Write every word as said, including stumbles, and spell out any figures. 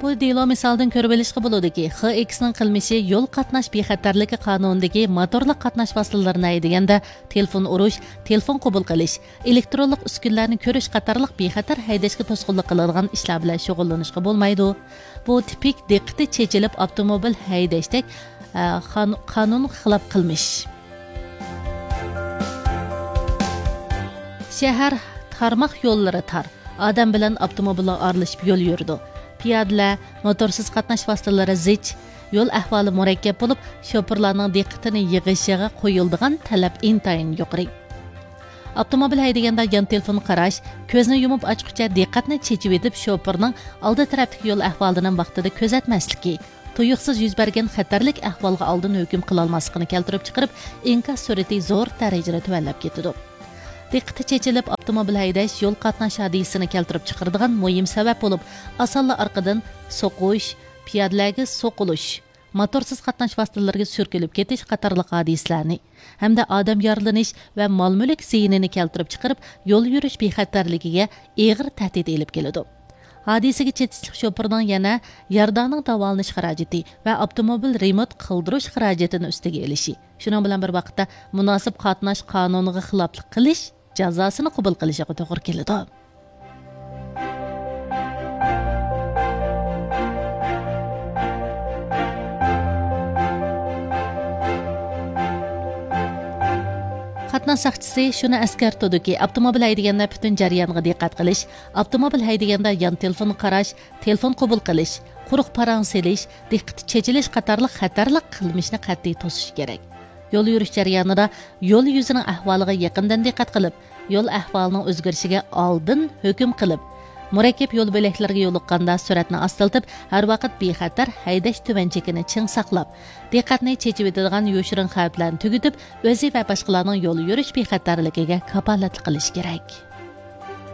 بۇ دېلو مىسالىدىن كۆرۈۋېلىشقا بولىدۇكى، خېكسنىڭ قىلمىشى يول قاتناش بىخەتەرلىكى قانۇنىدىكى موتورلۇق قاتناش ۋاسىتىلىرىنى ھەيدىگەندە تېلېفون ئۇرۇش، تېلېفون قوبۇل قىلىش، ئېلېكترونلۇق ئۈسكۈنىلەرنى كۆرۈش قاتارلىق بىخەتەر ھەيدەشكە توسقۇنلۇق قىلىدىغان ئىشلار بىلەن شۇغۇللىنىشقا بولمايدۇ. بۇ تىپىك دىققىتى چېچىلىپ ئاپتوموبىل ھەيدەشتەك، ئە، قان-، قانۇنغا خىلاپ قىلمىش. شەھەر تارماق يوللىرى تار. ئادەم بىلەن ئاپتوموبىللار ئارىلىشىپ يول يۈرىدۇ. پىيادىلەر، موتورسىز قاتناش ۋاسىتىلىرى زىچ، يول ئەھۋالى مۇرەككەپ بولۇپ، شوپۇرلارنىڭ دىققىتىنى يىغىشىغا قويۇلىدىغان تەلەپ ئىنتايىن يۇقىرى. ئاپتوموبىل ھەيدىگەندە يان تېلېفون قاراش، كۆزنى يۇمۇپ ئاچقۇچە دىققەتنى چېچىۋېتىپ، شوپۇرنىڭ ئالدى تەرەپتىكى يول ئەھۋالىنى ۋاقتىدا كۆزەتمەسلىكى، تۇيۇقسىز يۈز بەرگەن خەتەرلىك ئەھۋالغا ئالدىن ھۆكۈم قىلالماسلىقىنى كەلتۈرۈپ چىقىرىپ، ئىنكاس سۈرئىتى زور دەرىجىدە تۆۋەنلەپ كېتىدۇ. دىققىتى چېچىلىپ ئاپتوموبىل ھەيدەش يول قاتناش ھادىسىسىنى كەلتۈرۈپ چىقىرىدىغان مۇھىم سەۋەب بولۇپ، ئاسانلا ئارقىدىن سوقۇش، پىيادىلەرگە سوقۇلۇش، موتورسىز قاتناش ۋاسىتىلىرىگە سۈركىلىپ كېتىش قاتارلىق ھادىسىلەرنى ھەمدە ئادەم يارىلىنىش ۋە مال-مۈلۈك زىيىنىنى كەلتۈرۈپ چىقىرىپ، يول يۈرۈش بىخەتەرلىكىگە ئېغىر تەھدىت ئېلىپ كېلىدۇ. ھادىسىگە چېتىشلىق شوپۇرنىڭ يەنە يارىدارنىڭ داۋالىنىش خىراجىتى ۋە ئاپتوموبىل رېمونت قىلدۇرۇش خىراجىتىنى ئۈستىگە ئېلىشى، شۇنىڭ بىلەن بىر ۋاقىتتا، مۇناسىپ قاتناش قانۇنىغا خىلاپلىق قىلىش جازاسىنى قوبۇل قىلىشىغا توغرا كېلىدۇ. قاتناش ساقچىسى شۇنى ئەسكەرتىدۇكى، ئاپتوموبىل ھەيدىگەندە پۈتۈن جەريانغا دىققەت قىلىش، ئاپتوموبىل ھەيدىگەندە يان تېلېفون قاراش، تېلېفون قوبۇل قىلىش، قۇرۇق پاراڭ سېلىش، دىققىتى چېچىلىش قاتارلىق خەتەرلىك قىلمىشنى قەتئىي توسۇش كېرەك. يول يۈرۈش جەريانىدا يول يۈزىنىڭ ئەھۋالىغا يېقىندىن دىققەت قىلىپ، يول ئەھۋالىنىڭ ئۆزگىرىشىگە ئالدىن ھۆكۈم قىلىپ، مۇرەككەپ يول بۆلەكلىرىگە يولۇققاندا سۈرئەتنى ئاستىلىتىپ، ھەر ۋاقىت بىخەتەر ھەيدەش تۆۋەن چېكىنى چىڭ ساقلاپ، دىققەتنى چېچىۋېتىدىغان يوشۇرۇن خەۋپلەرنى تۈگىتىپ، ئۆزى ۋە باشقىلارنىڭ يول يۈرۈش بىخەتەرلىكىگە كاپالەتلىك قىلىشى كېرەك.